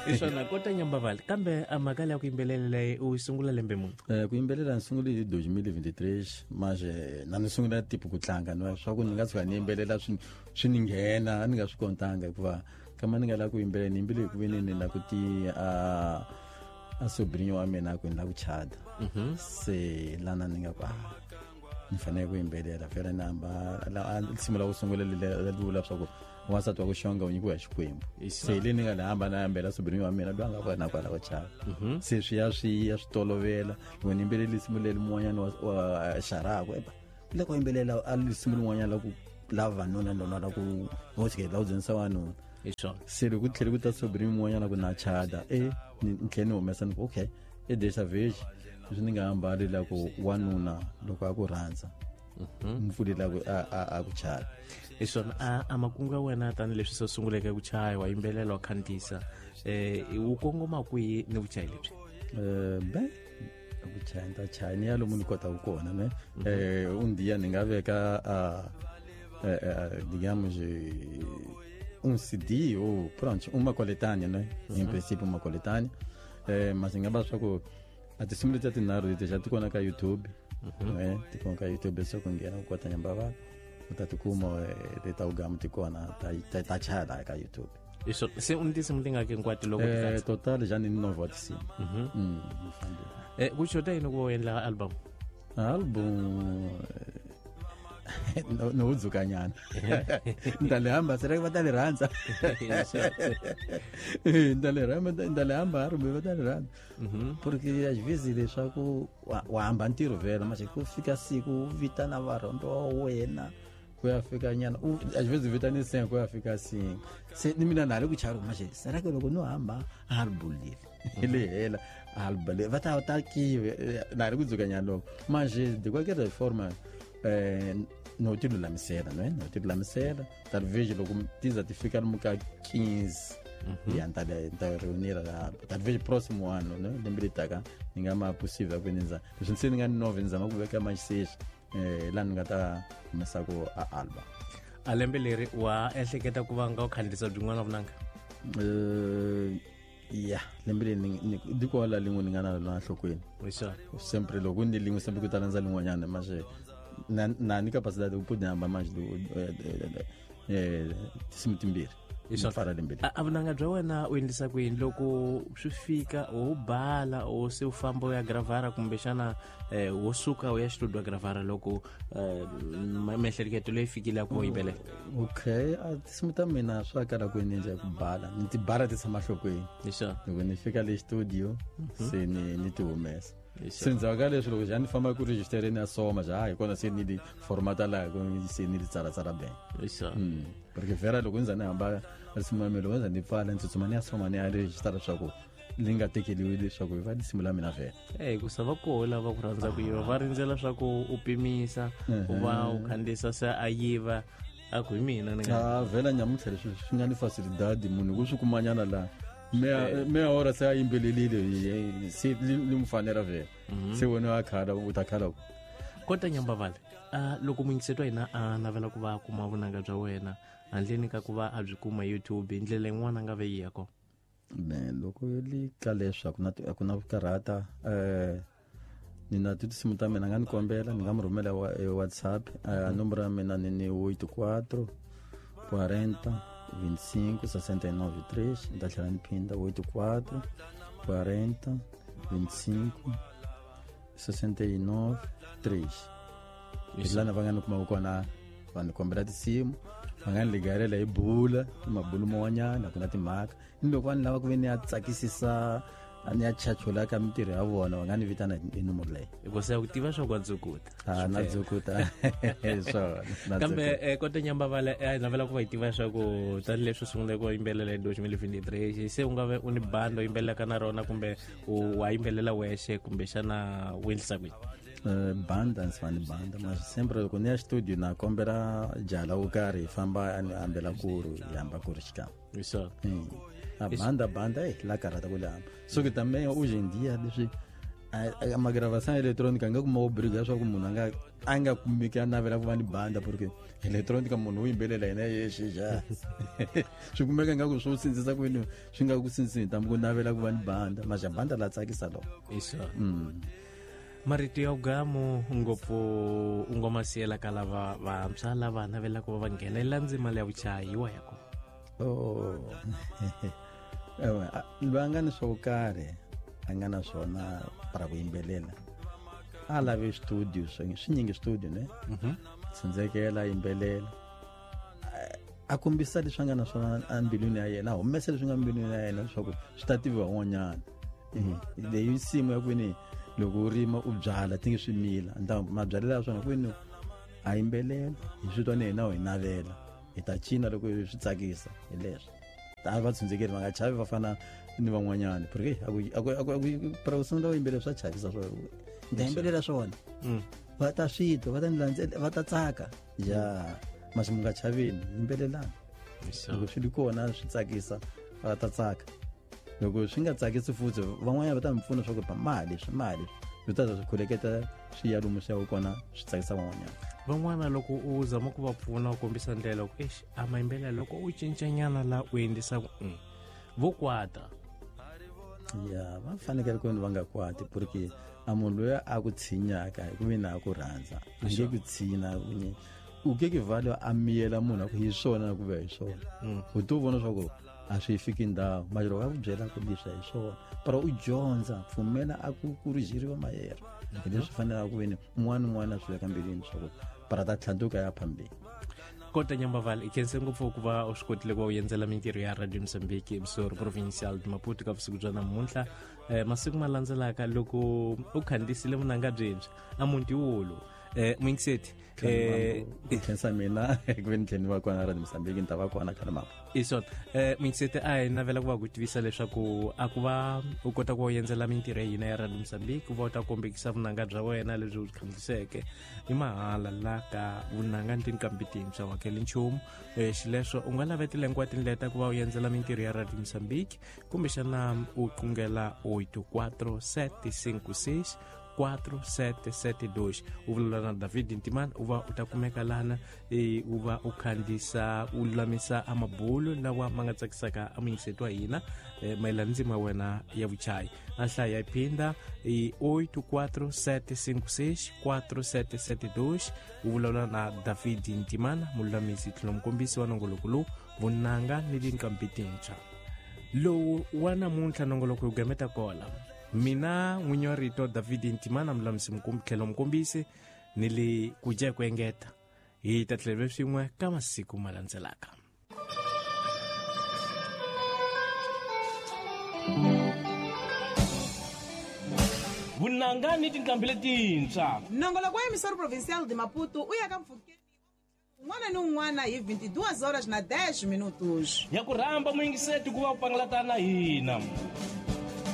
Hi swona kota Nyambavale, kambe a mhaka leya ku yimbelela leyi u yi sungula lembe muni? Ku yimbelela ni sungule hi 2023, mas na ni sungula tipo ku tlanga no swa ku ni nga tshuka ni yimbelela swi ni nghena a ni nga swi kontanga, hikuva kama ni nga lava ku yimbelela ni yimbele hi ku ve ni la ku ti a sobrinho wa mina ku ni la ku chada. Se lana ni nga ku ni fanele ku yimbelela vhele ni hamba risimu la ku sungula leri vula swa ku wansati wa ku xonga u nyikiwa hi Xikwembu. Se le ni nga ni hamba na yambela sobrinho wa mina loyi a nga kona kwala ku chava. Se swi ya swi ya swi tolovela loko ni yimbelele risimu leri mun'wanyana wa xaraku eba le ku yimbelela a risimu rin'wanyana la ku la vanuna lona la ku okay la ku dzunisa wanuna. Hi swona. Se loko ku tlhele ku ta sobrinho mun'wanyana ku na chada ni tlhele ni humesa ni ku okay e dessa vez leswi ni nga hambali la ku wanuna loko a ku rhandza mpfuli la ku a ku chaya. Hi swona. A makungu ya wena tanihileswi se sunguleke ku chaya, wa yimbelela, wa khandziyisa, wu kongoma kwihi ni vuchayi lebyi? Be ku chaya ni ta chaya ni ya lomu ni kotaka kona ne. Um dia ni nga veka digamos um CD ou pronto uma coletânea, né? Em princípio uma coletânea. Mas nga va swa ku a tinsimu letiya tinharhu leti xa ti kona ka YouTube. Ti kona ka YouTube, se ku nghena ku kota Nyambavale u ta tikuma leta ugamu ti kona ta chaya laha ka YouTube. Hi swona. Se u ni tinsimu tingaki hinkwato loko ti katsa? Total já ni nove wa tinsimu. Ni fambile. Ku xota yini ku va u endla album? Album no dzukanyana ni ta le hamba, será que va ta le rhandza? Ni ta le rhamba, ni ta le hamba rumbe va ta le rhandza, porque às vezes leswaku wa hamba ntirho vhela manje ku fika siku u vitana varhombe wa wena ku ya fika nyana às vezes u vitane 5 ku ya fika 5, se ni mina na ha ri ku chava manje será que loko no hamba album leri le hela album leri va ta ta kive na ha ri ku dzukanyana loko manje de qualquer forma no ti lulamisela no ti lulamisela talvez loko ti za ti fika lomu ka 15 ya ni ta ni ta reunir la talvez próximo ano, né, lembe leri taka ni nga ma possível ku ni za leswi se ni nga ni nove ni zama ku veka maxixi laha ni nga ta humesa ku a album. A lembe leri wa ehleketa ku va nga u khandziyisa byin'wana vunanga? Ya, lembe leri di kola lin'we ni nga na rona enhlokweni. Hi swona. Sempre loko ni lin'we sempre ku ta landza lin'wanyana manje na ni capacidade ku pudi hamba manje tinsimu timbirhi. Hi swona. Pfala lembe leri. A vunanga bya wena u endlisa ku yini loko swi fika wo bala o se u famba u ya gravara, kumbexana wo suka u ya xitudio ya gravara loko miehleketo leyi fikile ya ku yimbelela? Okay, a tinsimu ta mina swa kala ku ni endla ku bala ni ti bala ti tshama nhlokweni. Hi swona. Loko ni fika le studio se ni ti humesa. Hi Se ndzhaku ka leswi loko xa ni famba ku registereni ya soma xa hi kona se ni li formata laha ku se ni li tsalatsala ben. Hi swona. Porque vera loko ndza ni hamba risimu ya mina loko ndza ni pfala ni tsutsuma ni ya soma ni ya registera leswaku li nga tekeliwi leswaku va risimu la mina vhela. Ku sa va koho lava ku rhandza ku yiva va rindzela swa ku u pimisa u va u khandziyisa se a yiva a ku hi mina ni nga A vhela nyamuntlha leswi swi nga ni facilidade munhu ku swi kumanyana laha meya hora se a yimbelelile se li n'wi fanela vhela se wena a khala u ta khala ku Kota Nyambavale, loko muyingiseti wa hina a navela ku va a kuma vunanga bya wena handleni ka ku va a byi kuma YouTube hi ndlela yin'wana a nga ve yi ya kona? Me loko li ka leswi a ku na ku karhata ni na tinsimu ta mina nga ni kombela ni nga mi rhumela WhatsApp. Nomboro ya mina ni 84 40 25 69 3. Ni ta tlhela ni phinda 84 40 25 69 3. Hi lana va nga ni kumaka kona, va ni kombela tinsimu, va nga ni ligarela hi bula mabulu man'wanyana, ku na timhaka ni loko va ni lava ku ve ni ya tsakisisa ni ya chachula ka mintirho ya vona va nga ni vitana hi nomoro leyi. Hikuva se ku tiva swa ku wa dzukuta. A na dzukuta swona na Kambe dzukuta. Kota Nyambavale, hi navela ku va hi tiva swa ku tanihileswi u sunguleke ku yimbelela hi 2023 se u nga ve u ni bandi u yimbelelaka na rona kumbe u wa yimbelela wexe kumbexana u endlisa kwini? Banda ndzi fane banda mas sempre loko ni ya studio na kombela jala wo karhi hi famba a ni hambela kuru hi hamba kuru xikan'we. Hi swona. A banda banda la karhata ku le hamba so ke também hoje em dia leswi Magravação eletrônica nga kuma obriga swa ku munhu a nga kumeki a navela ku va ni banda, porque electronica munhu u yimbelela yena yexe xa swi kumeka nga ku swo sindzisa kwini swi nga ku sindzisi ntamu ku navela ku va ni banda, maxa banda la tsakisa loko. Marito ya ugamu ngopfu u nga ma siyela ka lava vantshwa lava navelaka va nghenelela ndzima leya vuchayi wa ya kona. Ewe, loyi a nga ni swo karhi a nga na swona para ku yimbelela a lavi studio, swi nyingi studio ne tsindzekela yimbelela a kombisa leswi a nga na swona embilwini ya yena, a humesa leswi nga mbilwini ya yena leswaku swi ta tiviwa un'wanyana. Leyi nsimu ya kwini loko u rima u byala ti nge swi mila mabyalelo ya swona kwini a yimbelela hi swi twa ni hina u hi navela hi ta cina loko swi tsakisa. Hi leswi a va tshundzekeli, va nga chavi va fana ni van'wanyana, porque para ku sungula u yimbelela swa chavisa, swo ni ta yimbelela swona va ta swi twa, va ta ni landzela, va ta tsaka ya masi. Mu nga chaveni, yimbelelani loko swi ri kona swi tsakisa va ta tsaka, loko swi nga tsakisi futhi van'wanyana va ta mi pfuna swa ku mali swi mali swi ta swi khuleketa swi ya lomu swi ya kona swi tsakisa van'wanyana. Van'wana loko u zama ku va pfuna u kombisa ndlela ku exi a mayimbelela loko u cincanyana la u endlisa ku vo kwata. Ya, va fanekele ku va nga kwati, porque a munhu loyi a ku tshinyaka hi ku mina a ku rhandza a nge ku tshinya u ke ke vale a miyela munhu a ku hi swona ku ve hi swona u to vona swa ku a swi fiki ndhawu mara loko a ku byela ku leswi hi swona para u dyondza pfumela a ku kurhijeriwa mayero hi leswi fanelaka ku veni un'wana un'wana a swi veka mbilwini swa ku para ta tlhantuka ya phambili. Kota Nyambaval, i khense ngopfu ku va u swi kotile ku va u endzela mintirho ya Radio Mozambique emissora provincial de Maputo ka vusiku bya namuntlha. Masiku ma landzelaka loko u khandziyisile vunanga byintshwa a muti wulu muyingiseti. Ku khensa mina ku ve ni tlhela ni va kona Radio Mozambique, ni ta va kona khale mapo. Hi swona, muyingiseti, a hi navela ku va ku tivisa leswaku a ku va u kota ku va u endzela mintirho ya hina ya Radio Mozambique ku va u ta kombekisa vunanga bya wena lebyi u byi khandziyiseke i mahala la ka vunanga ni tinqambi tintshwa wa hakeli nchumu. Xileswo u nga lavetela hinkwato tindlela ta ku va u endzela mintirho ya Radio Mozambique kumbexana u qungela 84756 4772 u vulavula na David Ntimani u va u ta kumeka lana u va u khandziyisa u lulamisa amabulu lawa ma nga tsakisaka amuyingiseti wa hina mayelana ndzima wena ya vuchayi. A hlaya yi phinda i 84756 4772 u vulavula na David Ntimana, mululamisi tlhelo mukombisi wa nongoloko lowu vunanga ni tinqambi tintshwa. Lowu wa namuntlha nongoloko wu gameta kola mina n'winyi wa rito David Ntimana, mulamisi tlhelo mukombisi ni le ku dya hi ku engeta hi ta tlhela swin'we ka masiku ma landzelaka. Vunanga ni tinqambi letintshwa. Nongoloko wa emissora provincial de Maputo u ya ka mpfhukeni un'wana ni un'wana hi 22 horas na 10 minutos. Ya ku rhamba muyingiseti ku va u pangalata na hina.